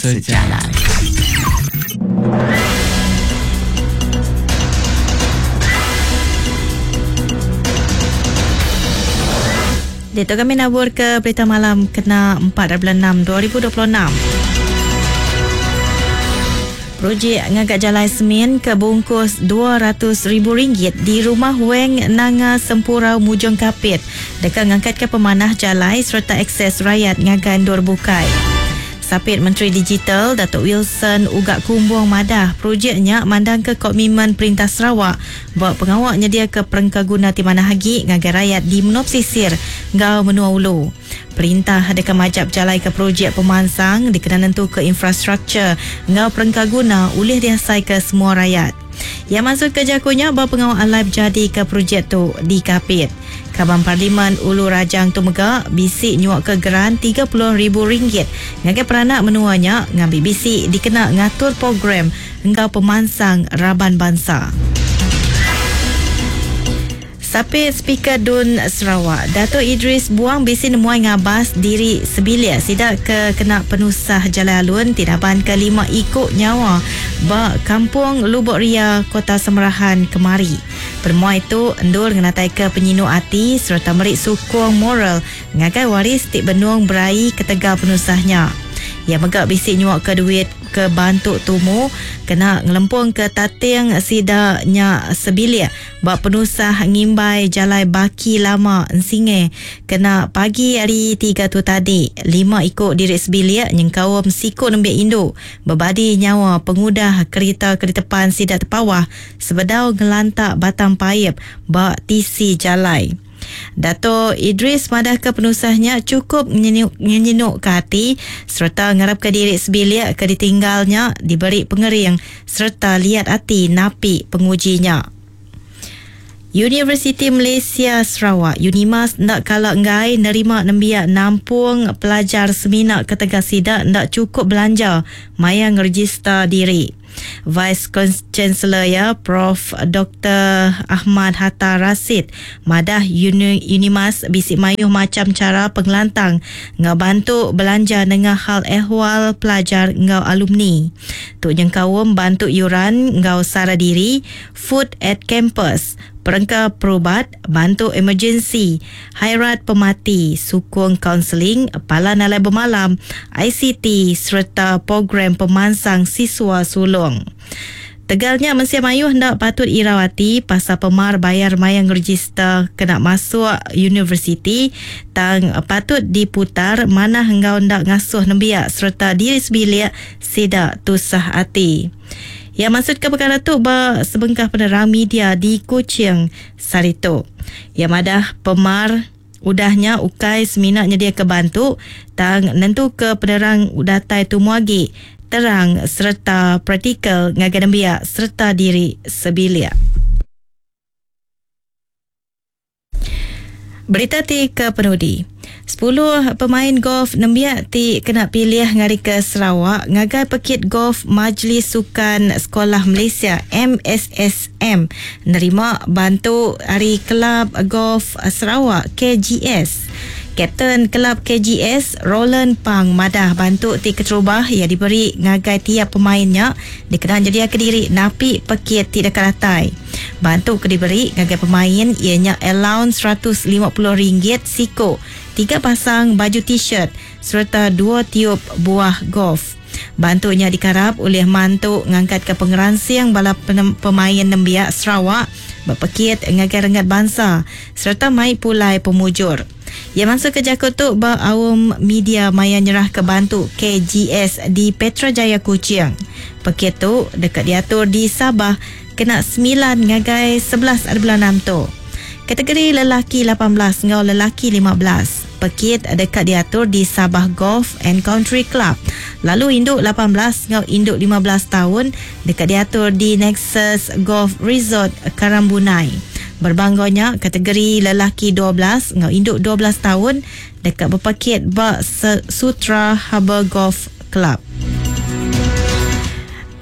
Sejalai. Ditu kami nabur ke berita malam kena 4 bulan 6 2026. Projek ngaga jalai semin ke bungkus RM200,000 di Rumah Weng Nanga Sempurau Mujong Kapit deka ngangkatka pemanah jalai sereta akses rayat ngagai endur bukai. Sapit Menteri Digital Datuk Wilson Ugak Kumbong madah projek nya mandangka komitmen Perintah Sarawak ba pengawa nyediaka perengka guna ti manah agi ngagai rayat di menua pesisir enggau menua ulu. Perintah deka majak bejalaika projek pemansang dikena nentuka infrastruktur enggau perengka guna ulih diasaika semua rayat. Iya mansutka jaku nya ba pengawa alai bejadika projek tu di Kapit. Kaban Parlimen Ulu Rajang tu mega bisi nyuaka geran RM30,000 ngagai peranak menua nya ngambi bisi dikena ngatur program enggau pemansang raban bansa. Sapit Speaker Dun Sarawak, Datuk Idris Buang bisi nemuai ngabas diri sebilik sida ke kena penusah jalai alun ti nabanka lima iku nyawa ba Kampung Lubok Ria, Kota Samarahan kemari. Penemuai tu endur ngenataika penyinu ati sereta meri sukung moral ngagai waris ti benung beraie ketegal penusah nya. Iya mega bisi nyuaka duit ke bantu tumu kena ngelempungka tating sida nya sebilik. Ba penusah ngimbai Jalai Baki Lama Ensinge kena pagi hari Tiga tu tadi, lima iku diri sebilik nyengkaum siku nembiak indu bebadi nyawa pengudah kerita ke ditepan sida tepawah sebedau ngelantak batang paip ba tisi jalai. Dato Idris madahka penusah nya chukup ngenyenuka ati sereta ngarapka diri sebilik ke ditinggal nya diberi pengering sereta liat ati napi penguji nya. Universiti Malaysia Sarawak, Unimas, enda kala enggai nerima nembiak nampung pelajar semina ketegal sida enda chukup belanja maya ngerejista diri. Vice Chancellor iya, Prof Doktor Ahmad Hatta Rasid madah Unimas bisi mayuh macham chara pengelantang enggau bantu belanja nengah hal ehwal pelajar enggau alumni. Tu nyengkaum bantu yuran enggau sara diri, food at campus, perengka perubat, bantu emergensi, hairat pemati, sukung kaunseling, palan alai bemalam, ICT sereta program pemansang siswa sulung. Tegal nya mensia mayuh enda patut irau ati pasal pemar bayar maya ngerejista kena masuk universiti tang patut diputar manah enggau enda ngasuh nembiak sereta diri sebilik sida tusah ati. Iya mansutka pekara tu ba sebengkah penerang media di Kuching sehari tu. Iya madah pemar udah nya ukai semina nyediaka bantu tang nentuka penerang datai tumu agi, terang sereta praktikal ngagai nembiak sereta diri sebilik. Berita ti ke penudi. Sepuluh pemain golf nembiak ti kena pilih ngarika Sarawak ngagai Pekit Golf Majlis Sukan Sekolah Malaysia, MSSM, nerima bantu ari Kelab Golf Sarawak, KGS. Kapten Kelab KGS, Roland Pang madah bantu ti keterubah iya diberi ngagai tiap pemain nya dikena nyediaka diri napi pekit ti deka datai. Bantu ke diberi ngagai pemain iya nya elaun RM150 siku, tiga pasang baju t-shirt sereta dua tiup buah golf. Bantu nya dikarap ulih mantu ngangkatka pengeransing bala pemain nembiak Sarawak bepekit ngagai renggat bansa sereta mai pulai pemujur. Iya mansutka jaku tu ba aum media maya nyerahka bantu KGS di Petra Jaya Kuching. Pekit tu deka diatur di Sabah kena semilan ngagai 11 ari bulan enam tu. Kategori lelaki 18 enggau lelaki 15. Pekit deka diatur di Sabah Golf and Country Club lalu indu 18 enggau indu 15 taun deka diatur di Nexus Golf Resort Karambunai. Berbangga nya, kategori lelaki 12 enggau indu 12 taun deka bepekit ba Sutera Harbour Golf Club.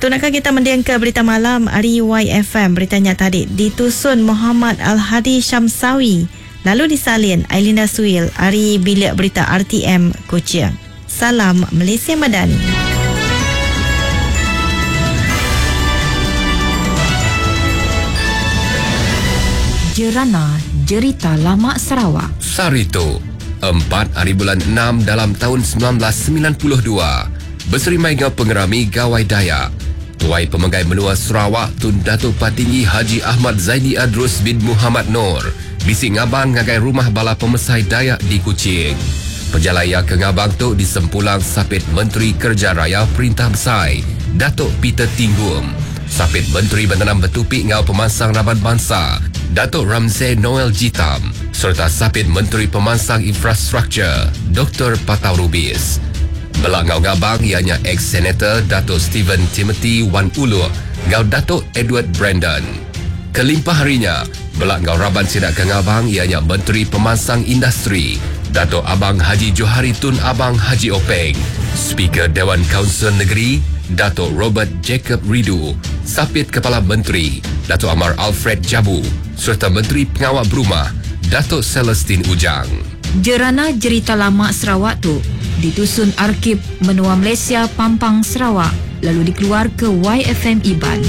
Tu naka kita mendingka berita malam ari YFM. Berita nya tadi ditusun Mohamad Al-Hadi Shamsawi lalu disalin Ailinda Suil ari Bilik Berita RTM Kuching. Salam Malaysia Madani. Jerana Jerita Lama Sarawak. Sehari tu, empat ari bulan enam dalam taun 1992, beserimbai enggau pengerami Gawai Dayak, Tuai Pemegai Menua Sarawak Tun Datuk Patinggi Haji Ahmad Zaidi Adrus bin Muhammad Noor bisi ngabang ngagai rumah bala pemesai Dayak di Kuching. Pejalai iya ke ngabang tu disempulang Sapit Menteri Kereja Raya Perintah Besai, Datuk Peter Tinggom, Sapit Menteri Betanam Betupi enggau Pemansang Raban Bansa, Datuk Ramsay Noel Jitam sereta Sapit Menteri Pemansang Infrastruktur, Doktor Patau Rubis. Bela enggau ngabang iya nya ex-Senator Datuk Stephen Timothy Wan Uluk enggau Datuk Edward Brandon. Kelimpah ari nya, bela enggau raban sida ke ngabang iya nya Menteri Pemansang Industri, Datuk Abang Haji Johari Tun Abang Haji Openg, Speaker Dewan Kaunsil Negeri, Datuk Robert Jacob Ridu, Sapit Kepala Menteri, Datuk Amar Alfred Jabu sereta Menteri Pengawa Berumah, Datuk Celestine Ujang. Jerana Jerita Lama Sarawak tu ditusun Arkib Menua Malaysia Pampang Sarawak lalu dikeluarka YFM Iban.